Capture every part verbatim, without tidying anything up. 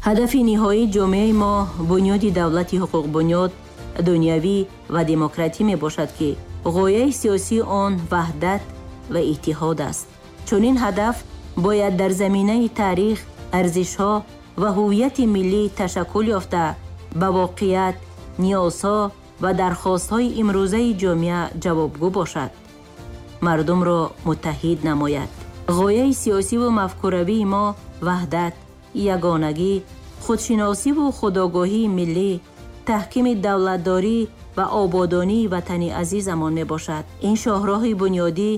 Ҳадафи ниҳоии ҷомеаи мо бунёди давлати ҳуқуқбунёд, дунявӣ ва демократӣ мебошад, ки ғояи сиёсии он ваҳдат ва иттиҳод аст. Чунин ҳадаф бояд дар заминаи таърих, арзишҳо ва ҳуввияти миллӣ ташаккул ёфта, ба воқеият, ниёзҳо ва дархостҳои имрӯзаи ҷомеа ҷавобгӯ бошад, мардумро муттаҳид намояд. Ғояи сиёсиву мафкуравии мо ваҳдат, ягонагӣ, худшиносиву худогоҳии миллӣ, таҳкими давлатдорӣ ва ободонии ватани азизамон мебошад. Ин шоҳроҳи бунёдӣ,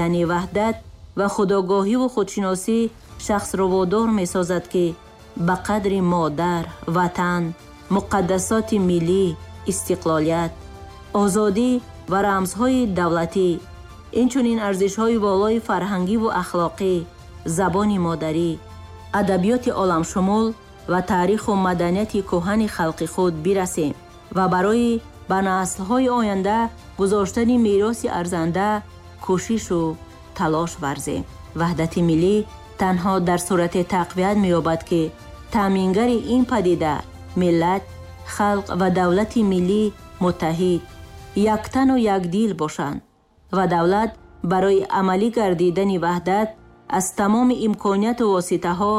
яъне ваҳдат ва худогоҳиву худшиносӣ, шахсро водор месозад, ки ба қадри модар, ватан, муқаддасоти миллӣ, истиқлолият, озодӣ ва рамзҳои давлатӣ, инчунин арзишҳои волои фарҳангиву ахлоқӣ, забони модарӣ, адабиёти оламшумул ва таъриху маданияти кӯҳани халқи худ бирасем ва барои ба наслҳои оянда гузоштани мероси арзанда кӯшишу талош варзем. Ваҳдати миллӣ танҳо дар сурате тақвият меёбад, ки таъмингари ин падида миллат, халқ ва давлати миллӣ муттаҳид, яктану якдил бошанд ва давлат барои амалӣ гардидани ваҳдат аз тамоми имконияту воситаҳо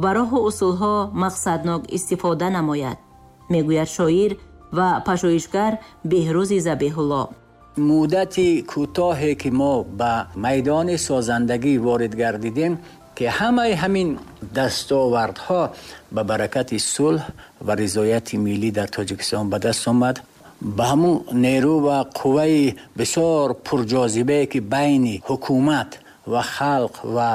ва роҳу усулҳо мақсаднок истифода намояд, мегӯяд шоир ва пажӯҳишгар Беҳрӯзи Забеҳулло. Муддати кӯтоҳе ки мо ба майдони созандагӣ ворид гардидем, ки ҳамаи ҳамин дастовардҳо ба баракати сулҳ ва ризояти миллӣ дар Тоҷикистон ба даст омад, ба ҳамун нерӯ ва қувваи бисёр пурҷозибае ки байни ҳукумат ва халқ ва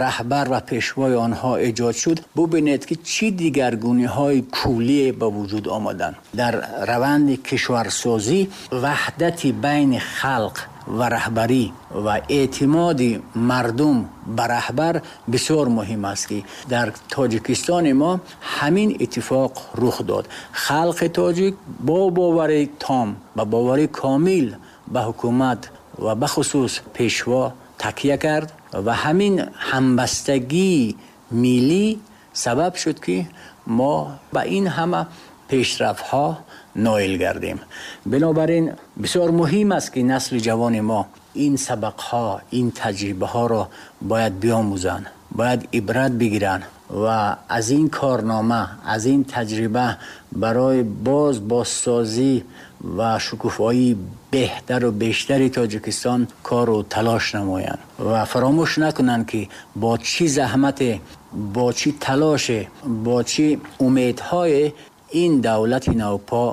раҳбар ва пешвои онҳо эҷод шуд, бубинед ки чӣ дигаргуниҳои куллие ба вуҷуд омаданд. Дар раванди кишварсозӣ ваҳдати байни халқ ва раҳбарӣ ва эътимоди мардум ба раҳбар бисёр муҳим аст, ки дар Тоҷикистони мо ҳамин иттифоқ рух дод. Халқи тоҷик бо бовари том, ба бовари комил ба ҳукумат ва бахусус пешво такя кард ва ҳамин ҳамбастагии миллӣ сабаб шуд, ки мо ба ин ҳама пешрафтҳо ноил гардем. Бинобар ин бисёр муҳим аст, ки насли ҷавони мо ин сабақҳо, ин таҷрибаҳоро бояд биомӯзанд, бояд ибрат бигиранд ва аз ин корнома, аз ин таҷриба барои боз бозсозӣ ва шукуфоии беҳтару бештари Тоҷикистон кору талош намоянд ва фаромӯш накунанд, ки бо чӣ заҳмате, бо чӣ талоше, бо чӣ умедҳое ин давлати навпо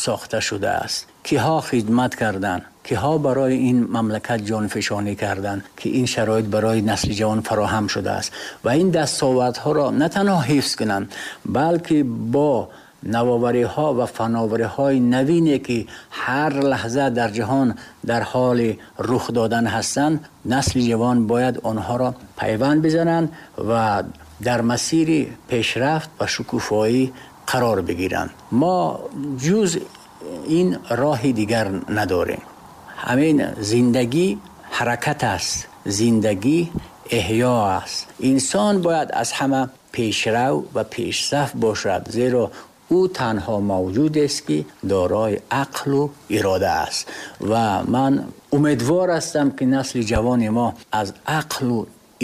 сохта шудааст. Киҳо хидмат карданд, киҳо барои ин мамлакат ҷонфишонӣ карданд, ки ин шароит барои насли ҷавон фароҳам шудааст ва ин дастовардҳоро на танҳо ҳифз кунанд, балки бо навовариҳо ва фановариҳои навине ки ҳар лаҳза дар ҷаҳон дар ҳоли рух додан ҳастанд, насли ҷавон бояд онҳоро пайванд бизананд ва дар масири пешрафт ва шукуфоӣ қарор бигиранд. Мо ҷуз ин роҳи дигар надорем. Ҳамин зиндагӣ ҳаракат аст, зиндагӣ эҳё аст. Инсон бояд аз ҳама пешрав ва пешсаф бошад, зеро ӯ танҳо мавҷуд аст, ки дорои ақлу ирода аст. Ва ман умедвор ҳастам, ки насли ҷавони мо аз ақлу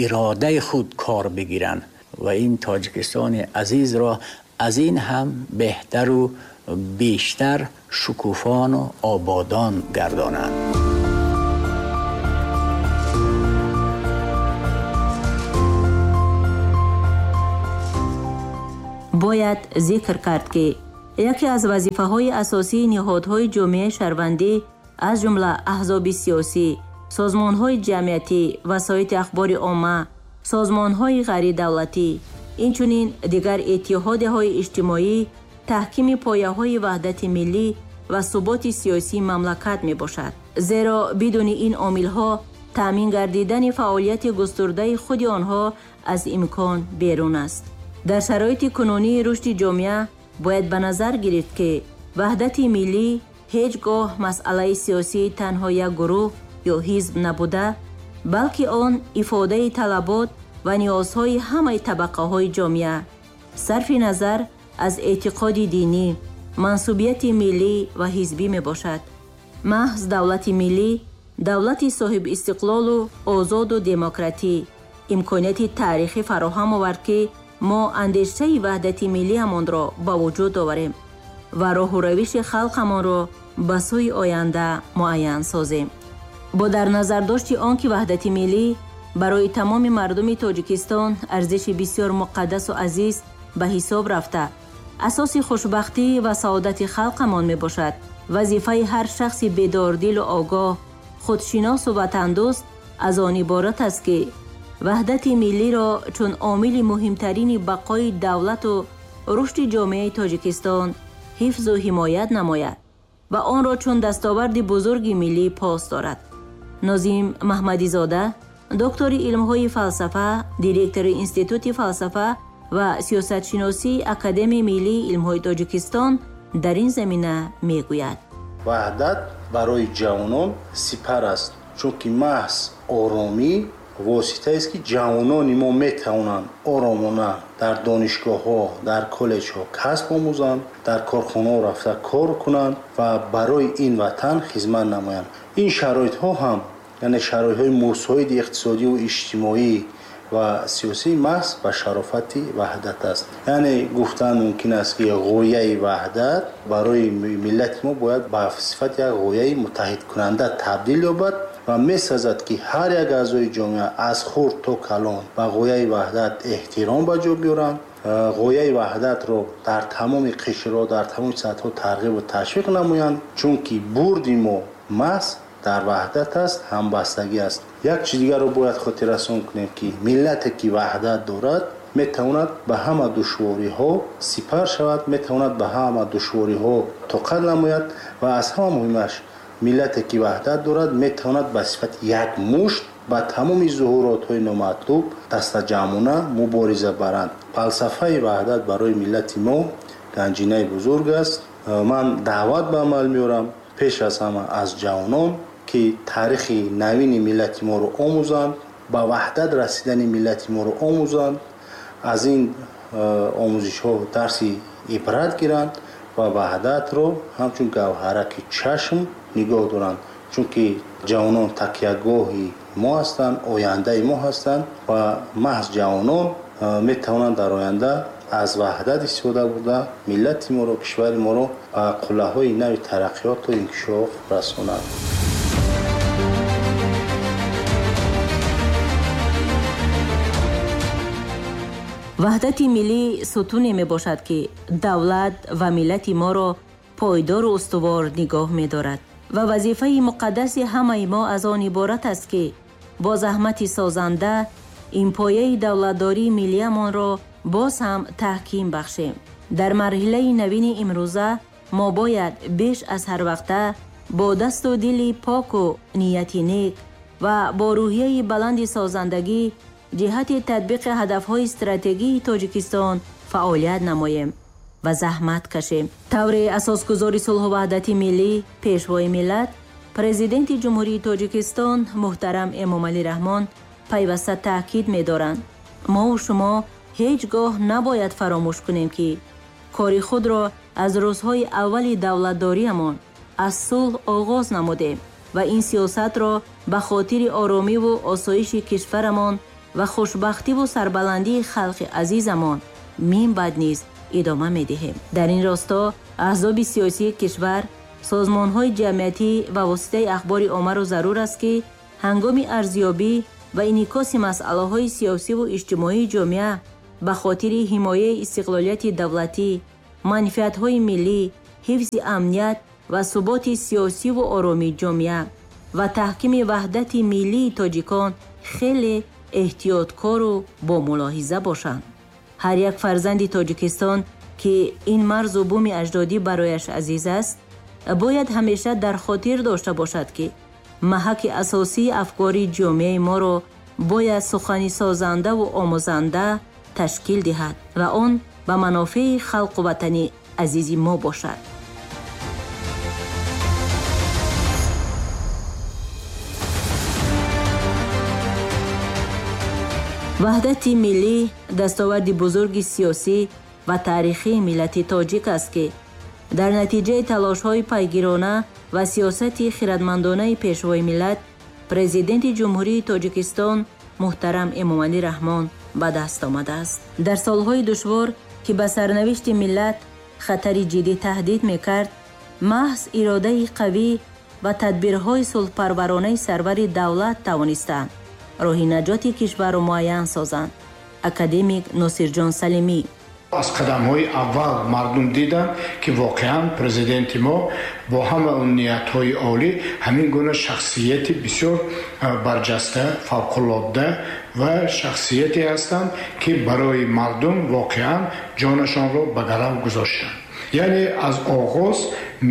иродаи худ кор бигиранд ва ин Тоҷикистони азизро аз ин ҳам беҳтару бештар шукуфону ободон гардонанд. Бояд зикр кард, ки яке аз вазифаҳои асосии ниҳодҳои ҷомеаи шаҳрвандӣ, аз ҷумла аҳзоби сиёсӣ, созмонҳои ҷамъиятӣ, васоити ахбори омма, созмонҳои ғайридавлатӣ, инчунин дигар иттиҳодияҳои иҷтимоӣ, таҳкими пояҳои ваҳдати миллӣ ва суботи сиёсии мамлакат мебошад. Зеро бидуни ин омилҳо таъмин гардидани фаъолияти густурдаи худи онҳо аз имкон берун аст. Дар шароити кунунии рушди ҷомеа бояд ба назар гирифт, ки ваҳдати миллӣ ҳеҷ гоҳ масъалаи сиёсии танҳо як гурӯҳ ё ҳизб набуда, балки он ифодаи талабот ва ниёзҳои ҳамаи табақаҳои ҷомеа, Сарфи назар аз эътиқоди динӣ, мансубияти миллӣ ва ҳизбӣ мебошад. Маҳз давлати миллӣ, давлати соҳибистиқлолу озоду демократӣ имконияти таърихӣ фароҳам овард, ки мо андешаи ваҳдати миллиамонро ба вуҷуд оварем ва роҳу равиши халқамонро ба сӯи оянда муайян созем. Бо дар назардошти он ки ваҳдати миллӣ барои тамоми мардуми Тоҷикистон арзиши бисёр муқаддасу азиз ба ҳисоб рафта, асоси хушбахтӣ ва саодати халқамон мебошад, вазифаи ҳар шахси бедордилу огоҳ, худшиносу ватандӯст аз он иборат аст, ки ваҳдати миллиро чун омили муҳимтарини бақои давлату рушди ҷомеаи Тоҷикистон ҳифзу ҳимоят намояд ва онро чун дастоварди бузурги миллӣ пос дорад. Нозим Маҳмадизода, доктори илмҳои фалсафа, директори Институти фалсафа ва сиёсатшиносии Академияи миллии илмҳои Тоҷикистон дар ин замина мегӯяд: Ваҳдат барои ҷавонон сипар аст, чунки маҳз оромӣ воситаест, ки ҷавонони мо метавонанд оромона дар донишгоҳҳо, дар коллеҷҳо касб омӯзанд, дар корхонаҳо рафта кор кунанд ва барои ин ватан хизмат намоянд. Ин шароитҳо ҳам, яъне шароитҳои мусоиди иқтисодиву иҷтимоӣ ва сиёсӣ маҳз ба шарофати ваҳдат аст. Яъне гуфтан мумкин аст, ки ғояи ваҳдат барои миллати мо бояд ба сифати як ғояи муттаҳидкунанда табдил ёбад ва месазад, ки ҳар як аъзои ҷомеа аз хурд то калон ба ғояи ваҳдат эҳтиром ба ҷо биёранд, ғояи ваҳдатро дар тамоми қишрҳо, дар тамоми сатҳҳо тарғибу ташвиқ намоянд, чунки бурди мо маҳз дар ваҳдат аст, ҳамбастагӣ аст. Як чиз дигарро бояд хотиррасон кунем, ки миллате ки ваҳдат дорад, метавонад ба ҳама душвориҳо сипар шавад, метавонад ба ҳама душвориҳо тоқат намояд ва аз ҳама муҳимаш, миллате ки ваҳдат дорад, метавонад ба сифати як мушт ба тамоми зуҳуротҳои номатлуб дастаҷамъона мубориза баранд. Фалсафаи ваҳдат барои миллати мо ганҷинаи бузург аст. Ман даъват ба амал меорам пеш аз ҳама аз ҷавонон, ки таърихи навини миллати моро омӯзанд, ба ваҳдат расидани миллати моро омӯзанд, аз ин омӯзишҳо дарси ибрат гиранд ва ваҳдатро ҳамчун гавҳараки чашм нигоҳ доранд, чунки ҷавонон такягоҳи мо ҳастанд, ояндаи мо ҳастанд ва маҳз ҷавонон метавонанд дар оянда аз ваҳдат истифода бурда миллати моро, кишвари моро ба қуллаҳои нави тараққиёту инкишоф расонанд. Ваҳдати миллӣ сутуне мебошад, ки давлат ва миллати моро пойдору устувор нигоҳ медорад ва вазифаи муқаддаси ҳамаи мо аз он иборат аст, ки бо заҳмати созанда ин пояи давлатдории миллиамонро боз ҳам таҳким бахшем. Дар марҳилаи навини имрӯза мо бояд беш аз ҳар вақта бо дасту дили поку нияти нек ва бо рӯҳияи баланди созандагӣ ҷиҳати татбиқи ҳадафҳои стратегии Тоҷикистон фаъолият намоем ва заҳмат кашем. Тавре асосгузори сулҳу ваҳдати миллӣ, пешвои миллат, президенти Ҷумҳурии Тоҷикистон муҳтарам Эмомалӣ Раҳмон пайваста таъкид медоранд: мову шумо ҳеҷ гоҳ набояд фаромӯш кунем, ки кори худро аз рӯзҳои аввали давлатдориамон аз сулҳ оғоз намудем ва ин сиёсатро ба хотири оромиву осоиши кишварамон ва хушбахтиву сарбаландии халқи азизамон минбаъд низ идома медиҳем. Дар ин росто аҳзоби сиёсии кишвар, созмонҳои ҷамъиятӣ ва воситаи ахбори оммаро зарур аст, ки ҳангоми арзёбӣ ва инъикоси масъалаҳои сиёсиву иҷтимоии ҷомеа ба хотири ҳимояи истиқлолияти давлатӣ, манфиатҳои миллӣ, ҳифзи амният ва суботи сиёсиву оромии ҷомеа ва таҳкими ваҳдати миллии тоҷикон хеле эҳтиёткору бомулоҳиза бошанд. Ҳар як фарзанди Тоҷикистон, ки ин марзу буми аҷдодӣ барояш азиз аст, бояд ҳамеша дар хотир дошта бошад, ки маҳаки асосии афкори ҷомеаи моро бояд сухани созандаву омӯзанда ташкил диҳад ва он ба манофеи халқу ватани азизи мо бошад. Ваҳдати миллӣ дастоварди бузурги сиёсӣ ва таърихии миллати тоҷик аст, ки дар натиҷаи талошҳои пайгирона ва сиёсати хирадмандонаи Пешвои миллат, Президенти Ҷумҳурии Тоҷикистон муҳтарам Эмомалӣ Раҳмон ба даст омадааст. Дар солҳои душвор, ки ба сарнавишти миллат хатари ҷиддӣ таҳдид мекард, маҳз иродаи қавӣ ва тадбирҳои сулҳпарваронаи сарвари давлат тавонистанд роҳи наҷоти кишварро муайян созанд. Академик Носирҷон Салимӣ. Аз қадамҳои аввал мардум диданд, ки воқеан президенти мо бо ҳама он ниятҳои олӣ ҳамин гуна шахсияти бисёр барҷаста, фавқулодда ва шахсияте ҳастанд, ки барои мардум воқеан ҷонашонро ба гарав гузоштанд. Яъне аз оғоз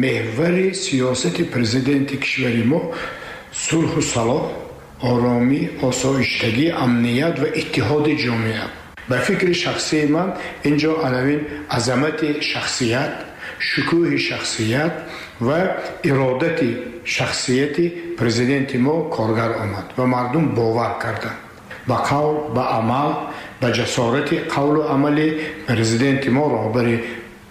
меҳвари сиёсати президенти кишвари мо сулҳу салоҳ, оромӣ, осоиштагӣ, амният ва иттиҳоди ҷомеа. Ба фикри шахсии ман инҷо анавин азамати шахсият, шукӯҳи шахсият ва иродати шахсияти президенти мо коргар омад ва мардум бовар карданд ба қавл, ба амал, ба ҷасорати қавлу амали президенти мо, роҳбари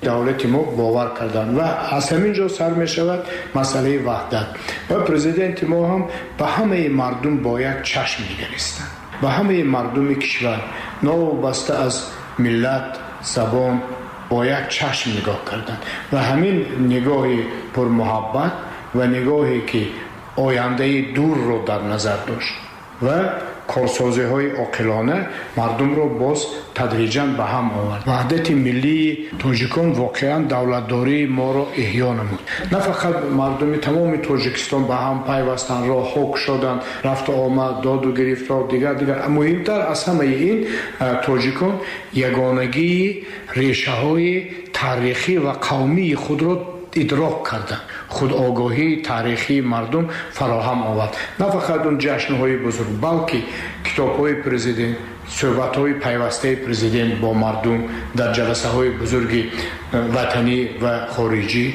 давлати мо бовар карданд ва аз ҳамин ҷо сар мешавад масъалаи ваҳдат. Ва президенти мо ҳам ба ҳамаи мардум бо як чашм нигаристанд, ба ҳамаи мардуми кишвар новобаста аз миллат, забон бо як чашм нигоҳ карданд ва ҳамин нигоҳи пурмуҳаббат ва нигоҳе ки ояндаи дурро дар назар дошт ва корсозиҳои оқилона мардумро боз тадриҷан ба ҳам овард. Ваҳдати миллии тоҷикон воқеан давлатдории моро эҳё намуд. На фақат мардуми тамоми Тоҷикистон ба ҳам пайвастанд, роҳҳо кушоданд, рафту омад, доду гирифтор, дигар дигар. Муҳимтар аз ҳамаи ин, тоҷикон ягонагии решаҳои таърихӣ ва қавмии худро идрок карданд. Худогоҳии таърихии мардум фароҳам овард. На фақат он ҷашнҳои бузург, балки китобҳои президент, суҳбатҳои пайвастаи президент бо мардум дар ҷаласаҳои бузурги ватанӣ ва хориҷӣ,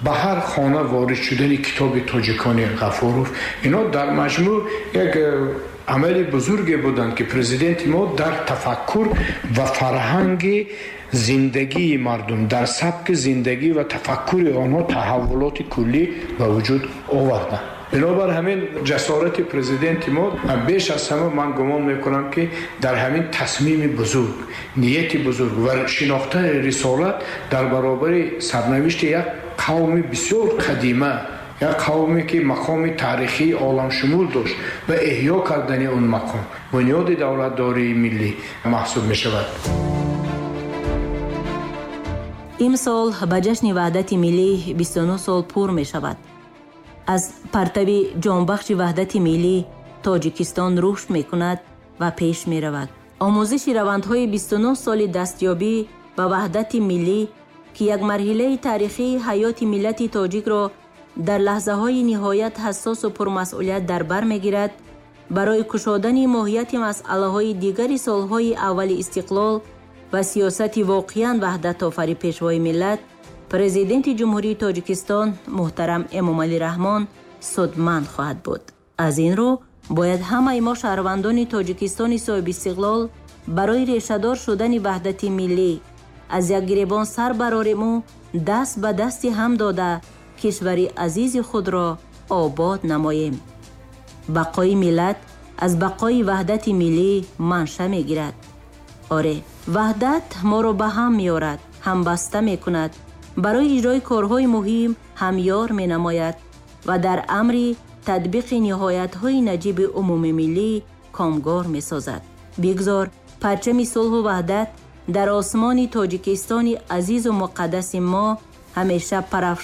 ба ҳар хона ворид шудани китоби тоҷикони Ғафуров, ино дар маҷмӯъ як амали бузурге буданд, ки президенти мо дар тафаккур ва фарҳанги зиндагии мардум, дар сабки зиндагӣ ва тафаккури онҳо таҳаввулоти куллӣ ба вуҷуд оварданд. Бинобар ҳамин ҷасорати президенти мо беш аз ҳама ман гумон мекунам, ки дар ҳамин тасмими бузург, нияти бузург ва шинохтани рисолат дар баробари сарнавишти як қавми бисёр қадима, як қавме ки мақоми таърихии оламшумул дошт ва эҳё кардани он мақом бунёди давлатдории миллӣ маҳсуб мешавад. Имсол ба ҷашни ваҳдати миллӣ бисту нӯҳ сол пур мешавад. Аз партави ҷонбахши ваҳдати миллӣ Тоҷикистон рушд мекунад ва пеш меравад. Омӯзиши равандҳои бисту нӯҳ соли дастёбӣ ба ваҳдати миллӣ, ки як марҳилаи таърихии ҳаёти миллати тоҷикро дар лаҳзаҳои ниҳоят ҳассосу пурмасъулият дар бар мегирад, барои кушодани моҳияти масъалаҳои дигари солҳои аввали истиқлол ва сиёсати воқеан ваҳдатофари Пешвои миллат, Президенти Ҷумҳурии Тоҷикистон муҳтарам Эмомалӣ Раҳмон судманд хоҳад буд. Аз ин рӯ бояд ҳамаи мо шаҳрвандони Тоҷикистони соҳибистиқлол барои решадор шудани ваҳдати миллӣ аз як гиребон сар барориму даст ба дасти ҳам дода кишвари азизи худро обод намоем. Бақои миллат аз бақои ваҳдати миллӣ манша мегирад. Оре, ваҳдат моро ба ҳам меорад, ҳамбаста мекунад, барои иҷрои корҳои муҳим ҳамёр менамояд ва дар амри татбиқи ниҳоятҳои наҷиби умумимиллӣ комгор месозад. Бигзор парчами сулҳу ваҳдат дар осмони Тоҷикистони азизу муқаддаси мо ҳамеша парафшон